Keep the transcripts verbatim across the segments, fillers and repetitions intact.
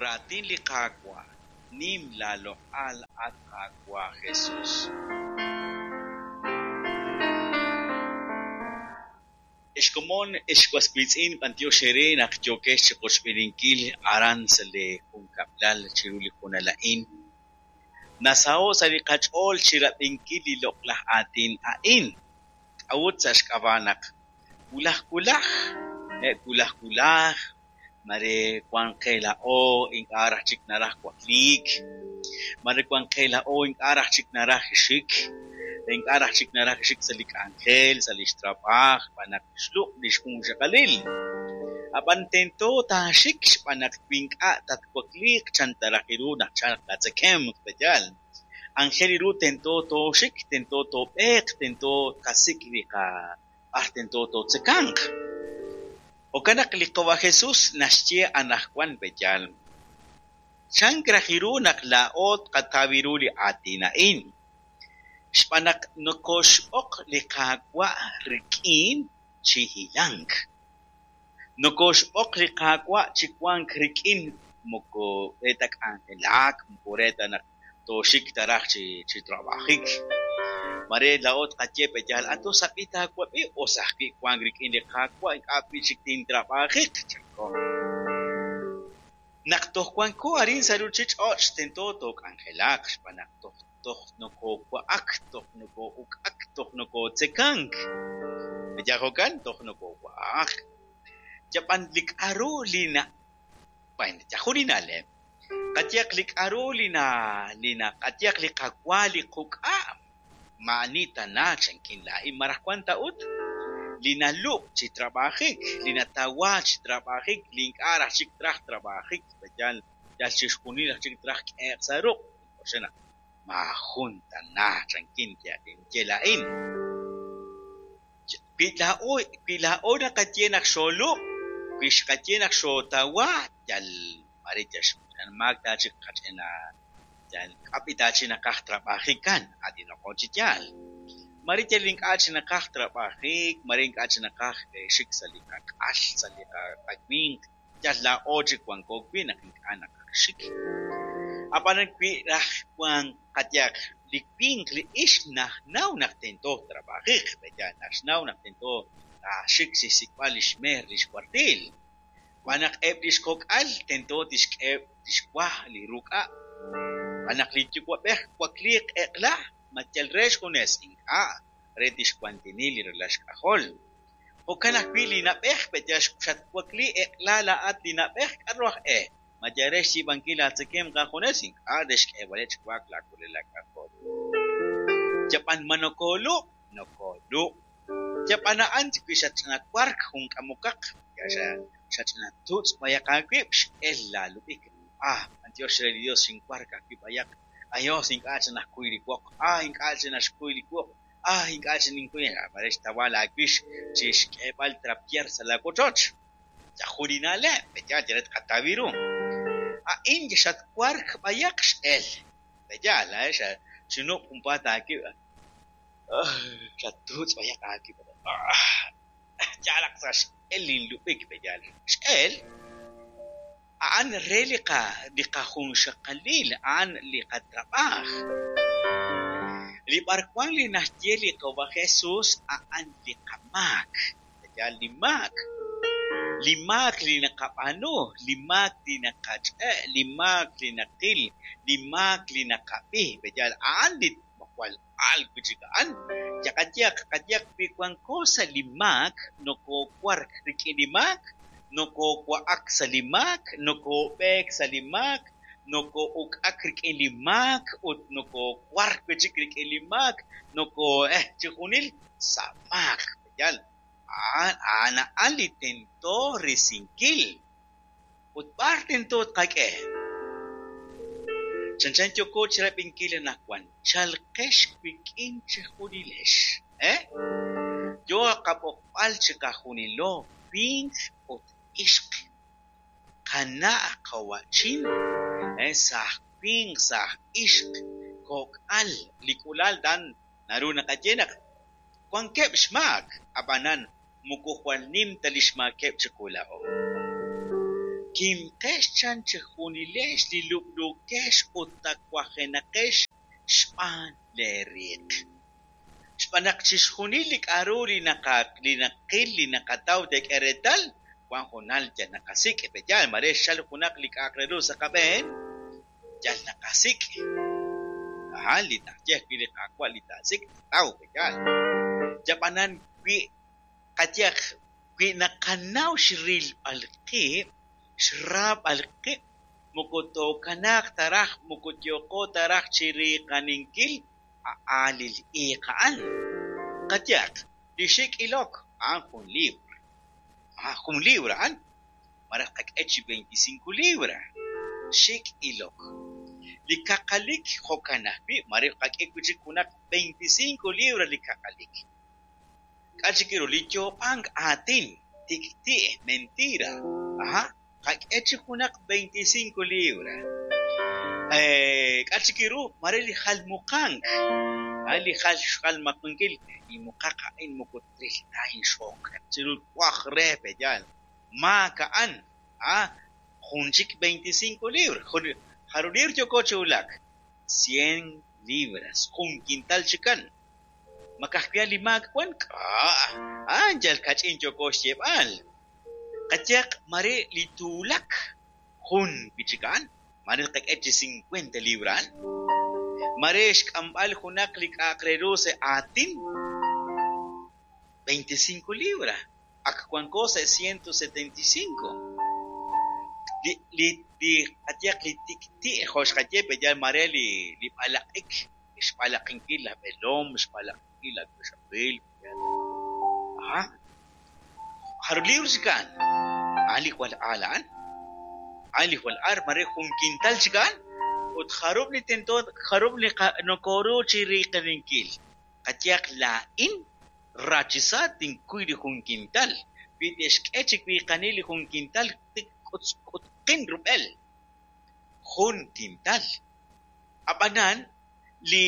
Raatin li Qaawa'. Nim laaloq'al, at Qaawa' Jesus. Ex komon, ex was wiitz'in, b'antiox eere naq yookex chiqochb'eeninkil aran sa' li junkab'lal chiru li hoonal a'in. Nasaho' sa' li qach'ool chirab'inkil li loq'laj aatin a'in. K'a'ut sa' xk'ab'a' naq wulaj wulaj, wulaj wulaj, mare wan qe laa'o ink'a' raj chik naraj wakliik, mare wan qe laa'o ink'a' raj chik naraj xik, ink'a' raj chik naraj xik sa' li k'anjel, sa' lix trab'aaj, xb'aan naq xlub' lix junxaqalil. Ab'an tento taaxik xb'aan naq wi ink'a' tatwakliiq chan ta raj ru naq chalq laatzekemq, pe'yaal. Anjel ru tento tooxik, tento toob'eeq, tento tqasik' li qa b'ar tento tootzekanq. Jo'kan naq li Qawa' Jesus naxye anaqwan, pe'yaal. Chank raj ru naq laa'o tqataw ru li aatin a'in. Xb'aan naq nokoxb'oq li Qaawa' rik'in chi hilank. Nokoxb'oq li Qaawa' chi wank rik'in moko re ta k'anjelak, moko re ta naq tooxik taraj chi chi trabajik. Mare laa'o tqaye pe'yaal ato sab'i taawab'i us ajwi' wank rik'in li Qaawa' ink'a' wi' chik tintrab'ajiq, chanko. Naq toj wanko arin sa' ruuchich'och' tento took'anjelaq xb'aan naq toj toj nokowa'ak, toj noko'uk'ak, toj nokotzekank. Pe'yaal jo'kan toj nokowa'ak. Yab'an li k'a'ru li na bueno, yajun li na'leb'. Qayehaq li k'a'ru li na li na qayehaq li qawa li quk'a' ma'ani tana chankin laa'in maraj wan ta ut li nalub' chi trab'ajik, li natawa chi trab'ajik, li ink'a' raj chik traj trab'ajik, pe'yaal yal chixjunil raj chik traj k'ehe'q sa' ruq'. Oxe naq maajun tana chankin tinye laa'in. Wi laa'o wi laa'o naqaye naq xoolub', wi xqaye naq xootawa, yal mare yal maak ta chik qach'ina yal k'ab'i ta chi naqaj trab'ajikan, atinoqo chi yaal. Mare yal ink'a' chi naqaj trab'ajik, mare ink'a' chi naqaj xik sa' li qak'al, sa' li qawinq, yal laa'o chik wanko wi' naq ink'a' naqaj xik. Ab'anan wi raj wan qayehaq li winq li ixq najnaw naq tento trab'ajiq, pe'yaal naxnaw naq tento taaxik chixsik'b'al lix meer lix cuartil. Xb'aan naq eb' lix kok'al tento tixk'eheb' tixwa li ruk'a'. Xb'aan naq li yuwa'b'ej wakliiq eq'la ma yal re xjunes ink'a' re tixwantini li ralal xk'ajol. Jo'kan ajwi' li na'b'ej pe'yaal xatwakli eq'la laa'at li na'b'ej k'a'ru aj e. Ma yal re xyiib'ankil laatzekemq aajunes ink'a' re xk'eeb'aleb' chi wa'ak laawalal laak'ajol. Yab'an ma nokoolub', nokoolub'. Yab'an a'an wi xatch'ina wark jun k'amokaq, xach'ina tutz' b'ayaq aawib' x'el laalub'ik. Ah, b'antiox re li Dios xinwark ajwi' b'ayaq. Ayos ink'a' chi najkuy li woq. Ah, ink'a' chi naxkuy li woq. Ah, ink'a' chi ninkuy. Mare xtawa laawix chi xk'eeb'al trapiar sa' laawochoch. Yajun li na'leb', pe'yaal yal re tqataw ru. A'in xatwark b'ayaq x'el. Pe'yaal, eh, xinub' junpaat aawib'. Xatutz' b'ayaq aawib'. Yalaq sa' x'el linlub'ik, pe'yaal. X'el a'an re li qa li qajunxaqalil, a'an li qatrab'aaj. Li b'arwan li naxye li Qawa' Jesus a'an li qamaak, pe'yaal li maak. Li maak li naqab'aanu, li maak li naqach'e', li maak li naqil, li maak li naqab'i, pe'yaal a'an li jwal al wi' chik a'an. Yaqayehaq qayehaq wi wanko sa' li maak, nokowark rik'in li maak, nokowa'ak sa' li maak, nokob'eek sa' li maak, noko'uk'ak rik'in li maak ut nokowark wi' chik rik'in li maak, noko eh chixjunil sa' maak, pe'yaal. A'an a'an a'an li tento risinkil. Ut b'ar tento tqak'e. Chanchan yooko chirab'inkil anaqwan, chalqex wik'in chejunilex, eh? Yo qab'oqb'al chiqajunilo winq ut ixq. Qana' qawa'chin, eh, saj winq, saj ixq, kok'al, li k'ulal dan naru naqaye naq wankeb' xmaak, ab'anan moko jwal nim ta li xmaakeb' chiqu laa'o. Kimqex chan chejunilex li lub'luukex ut tawajenaqex xb'aan leeriiq. Xb'aan naq chixjunil li k'a'ru li li naqil li naqataw teek'e reetal wan hoonal yal naqasik' pe'yaal mare xchal junaq li k'a'aq re ru sa' qab'een yal naqasik' aja li naxye ajwi' li Qaawa' li taasik' taataw pe'yaal yab'anan wi qayehaq wi naqanaw xrilb'al qib' xraab'al qib' moko tookanaaq ta raj moko yooqo ta raj chiriiqaninkil a'aalil iiq a'an. Qayehaq li xik' ilok a'an jun libra jun libra a'an malaj qak'e chi veinticinco libra xik' ilok. Li kaqalik jo'kan ajwi' mare qak'e wi' chik junaq veinticinco libra li kaqalik. K'a' chik ru li yoob'ank aatin tik'ti' mentira aja qak'e chi junaq veinticinco libra. K'a' chik ru mare li jalmuqank li jal xjalmaqinkil inmuqaq a'in moko tril ta inxook chiru waj re pe'yaal maak a'an a jun chik veinticinco libra jarub' libra yooko chi wulak cien libras jun quintal chikan ma ka'ajwi' li maak wan k'a' a'an yal kach'in yooko xyeeb'al qayehaq mare li tuulak jun wi' chik a'an mare qak'e chi cincuenta libra a'an mare xk'amb'al junaq li k'a'aq re ru sa' aatin veinticinco libra ak wanko sa' ciento setenta y cinco li li li qayehaq li tik'ti' jo' xqaye pe'yaal mare li li b'alaq'ik xb'alaqinkil laj b'eelom xb'alaqinkil laj wixaqil aja jarub' libra chik a'an a'an li jwal aal a'an a'an li jwal aal mare jun quintal chik a'an ut jarub' li tento jarub' li nokoru chiriiqaninkil qayehaq laa'in rachisa tinkuy li jun quintal wi te'xk'e chi wiiqanil li jun quintal tik k'utqin rub'el jun quintal ab'anan li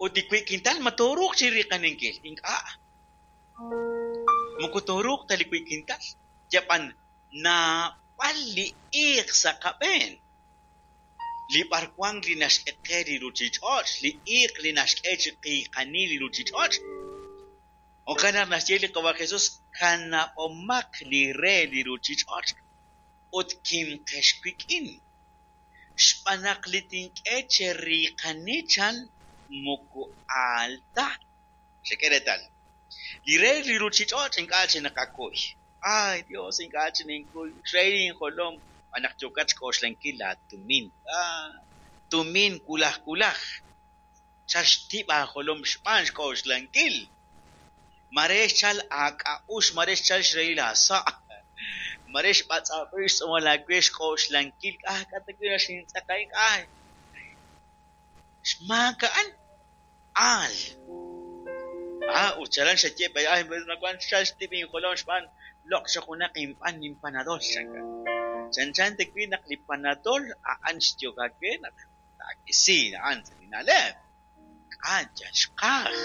ut li wi' quintal ma tooruuq chiriiqaninkil ink'a' moko tooruuq ta li wi' quintal yab'an naab'al li iiq sa' qab'een li b'arwan li naxk'e qe li ruchich'och' li iiq li naxk'e chi qiiqanil li ruchich'och' jo'kan naq naxye li Qawa' Jesús kanab'omaq li re li ruchich'och' ut kimqex wik'in xb'aan naq li tink'e cheriiqani chan moko aal ta xek'e reetal li re li ruchich'och' ink'a' chi naqakuy ay Dios ink'a' chi ninkuy xrahil injolom xb'aan naq yookat xk'oxlankil laatumin ah tumin wulaj wulaj chal xtib' aajolom xb'aan xk'oxlankil mare xchal aak'a'uxl mare xchal xrahil aasa' mare xb'atz'ab'il xtz'uumal aawe xk'oxlankil ah k'a' ta wi' naxintz'aq a'in ah xmaak a'an aal ah ut chalan xaye ay nawan xchal xtib' injolom xb'aan loq' chaq junaq inb'an inpanadol chanka chanchan ta wi' naq li panadol a'an xyok aawe naq taak'isi a'an sa' li na'leb' k'a' yal xqaj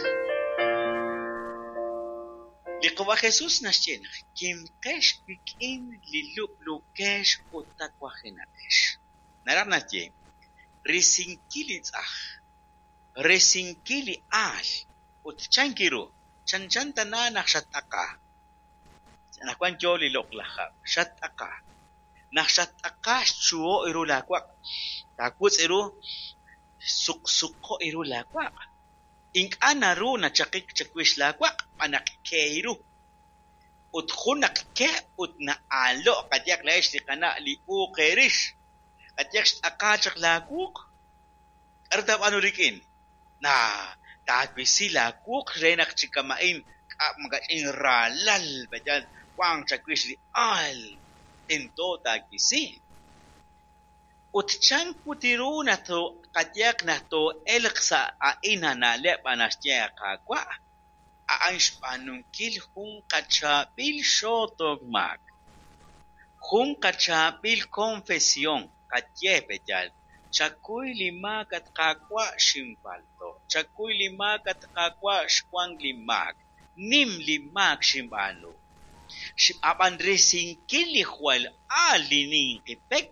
li Qawa' Jesús naxye naq kimqex wik'in li lub'luukex ut tawajenaqex naraj naxye risinkil li tz'aj risinkil li aal ut chanki ru chanchan tana naq xat'aqa anaqwan yo li loq'laj hab' xat'aqa naq xat'aqa xchuho' ru laawaq' taawutz' ru suqsuqo' ru laawaq' ink'a' naru nachaqik chawix laawaq' xb'aan naq ke ru ut jun naq ke ut na'aalo' qayehaq laa'ex li qana' li uuq eerix qayehaq xt'aqa chaq laawuq k'aru taab'aanu rik'in naa taawisi laawuq re naq chi kama'in k'a' makach'in raalal pe'yaal wanq chawix li aal tento taawisi ut chan put ru naq qayehaq naq too'elq sa' a'in na'leb' naxye Qaawa' a'an xb'aanunkil jun qachaab'il xootok maak jun qachaab'il confesión qaye pe'yaal chakuy li maak at Qaawa' xinpalto' chakuy li maak at Qaawa' xwank li maak nim li maak xinb'aanu Ab'an risinkil li jwal aal li ninqi pek.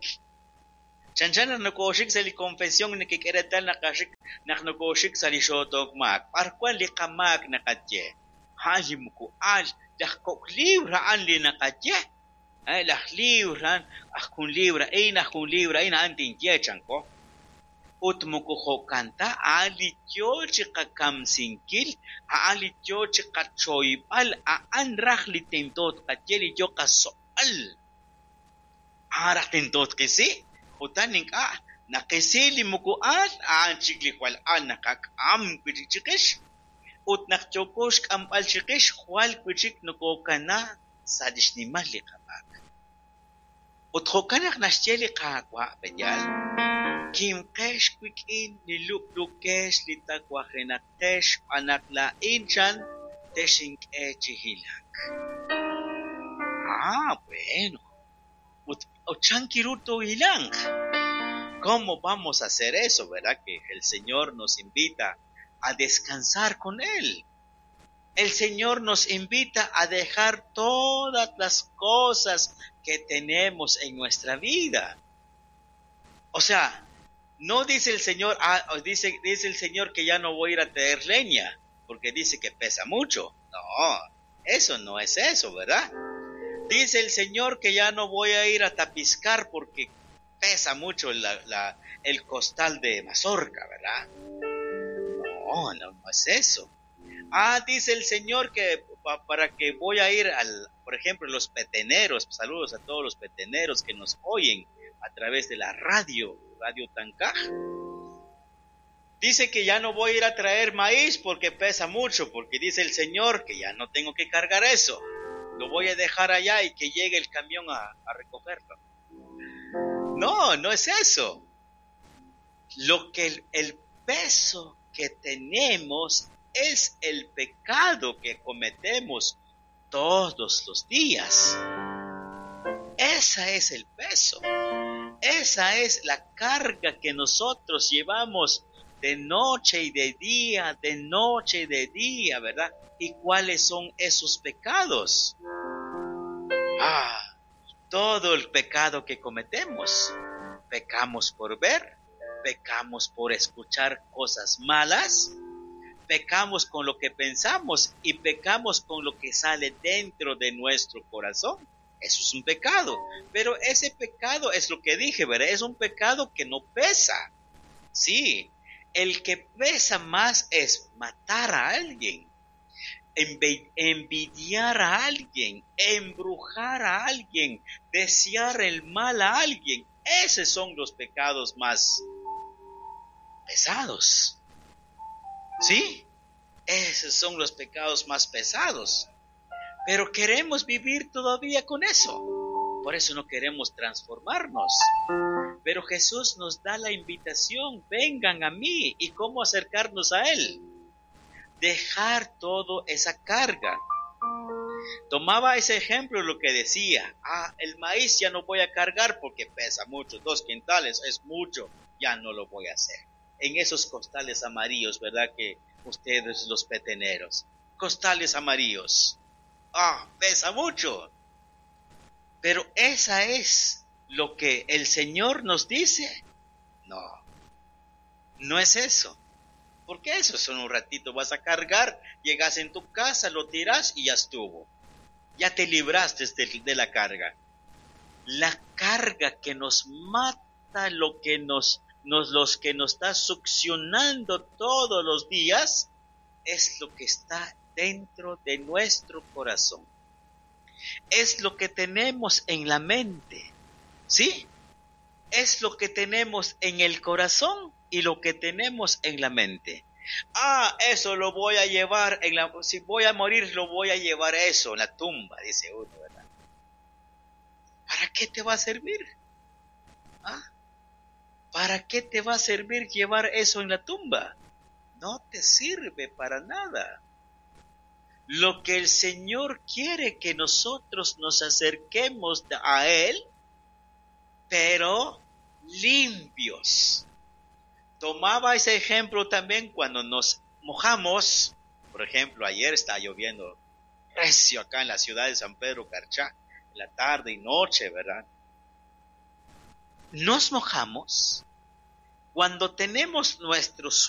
Chanchan naq nokooxik sa' li confesión nekek'e reetal naqaxik naq nokooxik sa' li xootok maak. B'ar wan li qamaak naqaye? A'an li moko aal, laj kok' libr a'an li naqaye. Laj libr a'an aj jun libr a'in, aj jun libr a'in, a'an tinye chanko. Ut moko jo'kan ta, a'an li yoo chi qakamsinkil, a'an li yoo chi qachoyb'al, a'an raj li tento tqaye li yoo qasoq'al. A'an raj tento tqisi, utan ink'a' naqisi li moko aal, a'an chik li jwal aal naqak'am wi' chik chiqix. Ut naq yooko xk'amb'al chiqix, jwal wi' chik nokokana sa' li xnimal li qamaak. Ut jo'kan naq naxye li Qaawa' pe'yaal, kimqex wik'in li lub'lukex li tawajenaqex xb'aan naq laa'in chan texink'e chi hilank. Ah, bueno. Ut chan kiru toohilanq. ¿Cómo vamos a hacer eso, verdad? Que el Señor nos invita a descansar con Él. El Señor nos invita a dejar todas las cosas que tenemos en nuestra vida. O sea, no dice el Señor, ah, dice, dice el Señor que ya no voy a ir a traer leña, porque dice que pesa mucho. No, eso no es eso, ¿verdad? Dice el Señor que ya no voy a ir a tapizcar porque pesa mucho la, la, el costal de mazorca, ¿verdad? No, no, no es eso. Ah, dice el Señor que pa-, para que voy a ir al, por ejemplo, los peteneros, saludos a todos los peteneros que nos oyen a través de la radio, Radio Tancaj. Dice que ya no voy a ir a traer maíz porque pesa mucho, porque dice el Señor que ya no tengo que cargar eso. Lo voy a dejar allá y que llegue el camión a, a recogerlo. No, no es eso. Lo que el, el peso que tenemos es el pecado que cometemos todos los días. Ese es el peso. Esa es la carga que nosotros llevamos de noche y de día, de noche y de día, ¿verdad? ¿Y cuáles son esos pecados? Ah, todo el pecado que cometemos. Pecamos por ver, pecamos por escuchar cosas malas, pecamos con lo que pensamos y pecamos con lo que sale dentro de nuestro corazón. Eso es un pecado, pero ese pecado es lo que dije, ¿verdad? Es un pecado que no pesa. Sí, el que pesa más es matar a alguien, envi-, envidiar a alguien, embrujar a alguien, desear el mal a alguien. Esos son los pecados más pesados. ¿Sí? Esos son los pecados más pesados. Pero queremos vivir todavía con eso. Por eso no queremos transformarnos. Pero Jesús nos da la invitación, vengan a mí. ¿Y cómo acercarnos a Él? Dejar toda esa carga. Tomaba ese ejemplo lo que decía, ah, el maíz ya no voy a cargar porque pesa mucho, dos quintales es mucho, ya no lo voy a hacer. En esos costales amarillos, ¿verdad? Que ustedes los peteneros, costales amarillos, ah, pesa mucho. Pero esa es lo que el Señor nos dice. No, no es eso. Porque eso es un ratito, vas a cargar, llegas en tu casa, lo tiras y ya estuvo. Ya te libraste de, de la carga. La carga que nos mata, lo que nos, nos, los que nos está succionando todos los días, es lo que está dentro de nuestro corazón. Es lo que tenemos en la mente, ¿sí? Es lo que tenemos en el corazón y lo que tenemos en la mente. Ah, eso lo voy a llevar en la, si voy a morir, lo voy a llevar eso en la tumba, dice uno, ¿verdad? ¿Para qué te va a servir? ¿Ah? ¿Para qué te va a servir llevar eso en la tumba? No te sirve para nada. Lo que el Señor quiere que nosotros nos acerquemos a Él, pero limpios. Tomaba ese ejemplo también cuando nos mojamos. Por ejemplo, ayer estaba lloviendo Recio acá en la ciudad de San Pedro Carchá, en la tarde y noche, ¿verdad? Nos mojamos cuando tenemos nuestro suéter.